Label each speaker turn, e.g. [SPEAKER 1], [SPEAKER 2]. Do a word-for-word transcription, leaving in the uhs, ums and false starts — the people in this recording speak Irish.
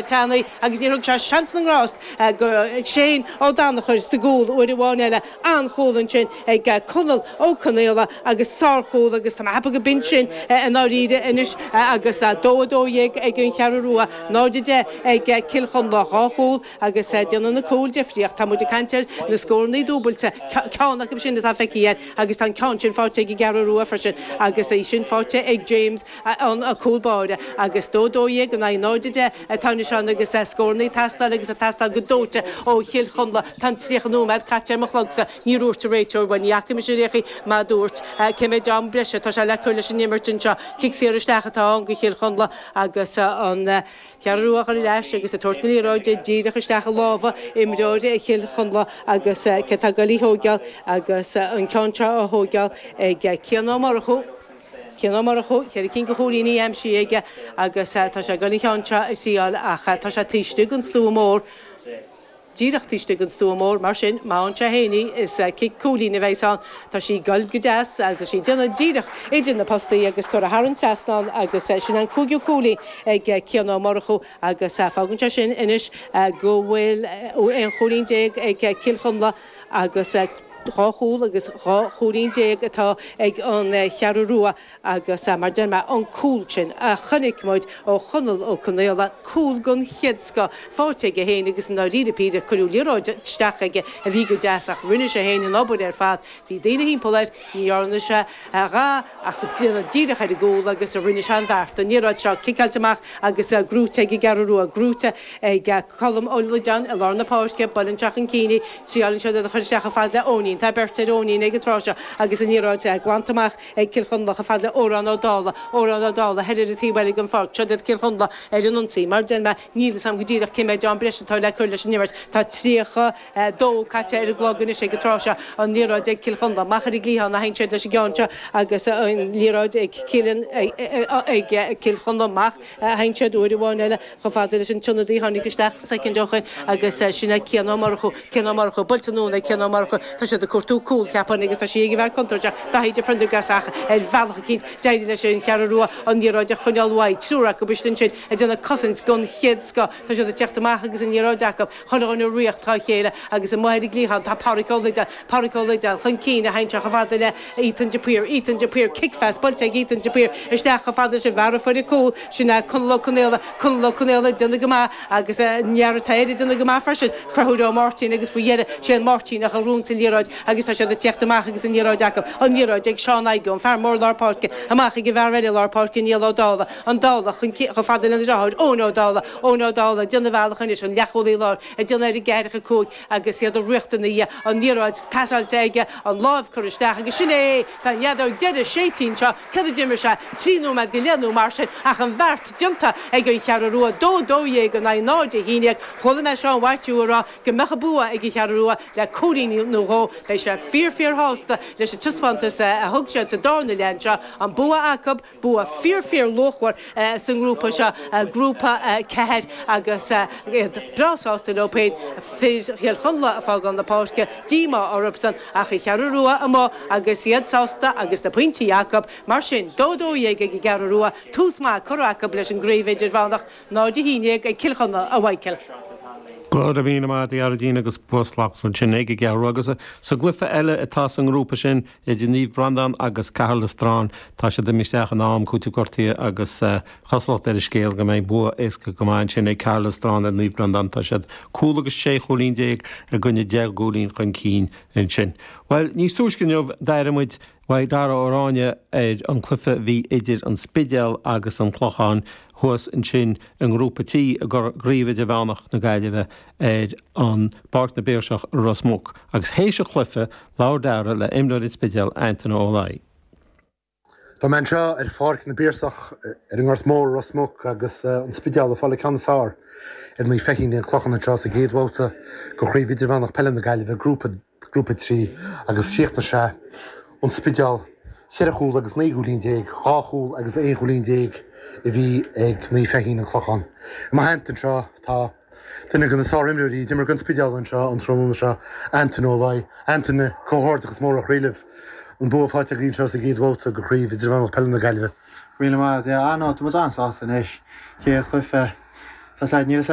[SPEAKER 1] Teannaí agus níor thug sé seans na ngrást go Shane Ó Danachair sa gcúl uair amháin eile an-chúl ansin ag Conall Ó Conaola agus sárchúl agus tá mé go binn sin in áiríre anois agus dó a dó dhéag ag an Cheathrú Rua náid a deich ag Cill Chonla dhá chúl agus déanann na cúil difríocht tá muid ag caint ar na scóranna dúbailte ceann acu sin atá feicthe agus tá ceann sin faighte ag an gCeathrú Rua freisin agus é sin faighte ag James an cúl báire agus dó dó dhéag in aghaidh náid a deich atá ansin agus scóranna ag teastáil agus ag teastáil go dóite ó Chill Chonla tá tríocha nóiméad caite ar mo chlogsa ní dúirt an réiteoir bhuel ní fhaca mise réchaí má dúirt cé mhéad am breise tá sé le cur leis an imirt anseo cic saor isteach atá ann go Chill Chonla agus an Cheathrú Rua ar ais agus ag tabhairt na liathróide díreach isteach i lámha imreoir Chill Chonla agus cé atá ag goil í thógáil agus an ceann seo á thógáil ag Cian Ó Murchú. Cian Ó Murchú ceithre cinn de chúilíní aimsithe aige agus tá sé ag goil an ceann seo a thriáil ach tá sé taobh istigh den stua mór. Díreach taobh istigh den stua mór mar sin má fhaigheann sé féin í is cic cúilín a bheidh ann tá sí ag goil go deas agus sí déanamh díreach idir na postaí agus curtha thar an trasnán agus sin an cúigiú cúilín ag Cian Ó Murchú agus fágann sé sin anois go bhfuil aon chúilín déag ag Cill Chonla agus dhá chúl agus dhá chúilín déag atá ag an Cheathrú Rua agus mar deir mé an cúl sin a chonaic muid ó Chonall Ó Conaola cúl den chéad scoth faighte aige féin agus na ríre píre cuireadh liathróid isteach aige a bhí go deas ach rinne sé féin an obair ar fad bhí daoine timpeall air ní dhearna sé a dhath ach déanamh díreach ar an gcúl agus a rinne sé an bheart an liathróid seo ciceáilte amach agus gnóite ag an gCeathrú Rua gnóite ag Colm Ó Loideáin i lár na páirce buaileann sé chun cinn triaileann sé a chur isteach chomh fada le Eoinín tá beirt ar Eoinín ag an tráth seo agus an liathróid glanta amach ag Cill Chonla chomh fada le Órán Ó Dála Órán Ó Dála thoir ar an taobh eile den pháirc seo iad Cill Chonla ar an ionsaí mar deir mé níl a fhios agam go díreach cé mhéad am breise atá le cur leis an imirt tá tríocha dó caite ar an gclog anois ag an tráth seo an liathróid ag Cill Chonla amach ar an gcliathán a théann siad leis an gceann seo agus an liathróid ag Cillian ag Cill Chonla amach a théann siad uair amháin eile chomh fada leis an tionadaí tháinig isteach soicind ó shin agus sin é Cian Ó Murchú Cian Ó Murchú buailte anonn ag Cian Ó Murchú tá siad ag cuartú cúl ceapaim agus tá sí ag bheith contúirteach Daithí de Prendergast ach ar bhealach eicínt d'éirigh leis an Cheathrú Rua an liathróid a choinneáil uaidh triúr acu ansin ag déanamh cosaint den chéad scoth tá siad ag teacht amach agus an liathróid acu chun an ríocht dá chéile agus amuigh ar an gcliathán tá Pádraic Ó Loideáin Pádraic Ó Loideáin chun cinn a théann sé chomh fada le Ethan de Paor Ethan de Paor kickfast buailte ag Ethan de Paor isteach chomh fada sin bhar fuir cúl sin é Conall Ó Conaola Conall Ó Conaola déanamh go maith agus neartá déanamh go maith freisin Conchúr Ó Máirtín agus faoi dheireadh sé an Máirtíneach a ghnóthaíonn an liathróid agus tá siad ag teacht amach agus an liathróid acu an liathróid ag Seán Aige an fear mór lár páirce amach ag an bhfear eile lár páirce Niall Ó Dála an Dála chun chomh fada lena dheartháir Eoin Ó Dála Eoin Ó Dála déanamh bealach anois an leathchúlaí láir ag déanamh ar an gceathracha cúig agus iad a riachtanna an liathróid pasáilte aige an lámh curtha isteach agus sin é tá an fheadóg deiridh séidte anseo cad a d'imir sé trí nóiméad go leith nó mar sin ach an bheart déanta ag an Cheathrú Rua dó dó dhéag in aghaidh náid a haon déag chuala mé Seán Mhaitiú ag rá go mbeadh an bua ag an Cheathrú Rua le cúilín nó dhó beidh sé fíor fíor shásta leis an taispeántas a thug siad sa darna leath seo an bua acu bua fíor fíor luachmhar sa ngrúpa seo grúpa ceathair agus iad breá sásta leo féin fir Chill Chonla ag fágáil na páirce díomá orthusan ach an Cheathrú Rua amuigh agus iad sásta agus na pointí acu mar sin dó dó dhéag ag an gCeathrú Rua tús maith curtha acu leis an gcraobh idirmheánach náid a haon déag ag Cill Chonla a Mhichael.
[SPEAKER 2] Go raibh míle maith agat a Ghearóidín agus bua slachtmhar sin ag an gCeathrú agus sa gcluiche eile atá sa ngrúpa sin idir Naomh Breandán agus Caherlistrane tá siad imithe isteach in am cúiteamh gortaithe agus cosúlacht ar an scéal go mbeidh bua éasca go maith sin ag Caherlistrane ar Naomh Breandán tá siad cúl agus sé chúilín déag i gcoinne deich gcúilín chun cinn ansin. Well níos túisce inniu d'airigh muid uaidh Dara Ó Ráinne ar an cluiche a bhí idir an Spidéal agus an Clochán thuas ansin i ngrúpa trí i gcraobh idirmheánach na Gaillimhe ar an bPáirc na bPiarsach Ros Muc, agus théis an chluiche labhair Dara le imreoir an Spidéil Antaine Ó Laoi.
[SPEAKER 3] Tá mé anseo ar Pháirc na bPiarsach ar an nGort Mór Ros Muc agus an Spidéal ag fáil an ceann is fearr ar Naomh Feichín an Clochán anseo sa gcéad bhabhta de chraobh idirmheánach peile na Gaillimhe grúpa grúpa trí agus chríochnaigh sé an Spidéal ceithre chúl agus naoi gcúilín déag, dhá chúl agus aon chúilín déag a bhí ag Naomh Feichín an Clochán. I mo theannta anseo tá duine de na sárimreoirí a d'imir don Spidéal anseo an tráthnóna seo Antaine Ó Laoi, Antaine comhghairdeachas mór ó chroí libh an bua faighte agaibh anseo sa gcéad bhabhta de chraobh idirmheánach peile na Gaillimhe.
[SPEAKER 4] Míle maith yeah, no, tá muid an-sásta anois chéad chluiche Tá níl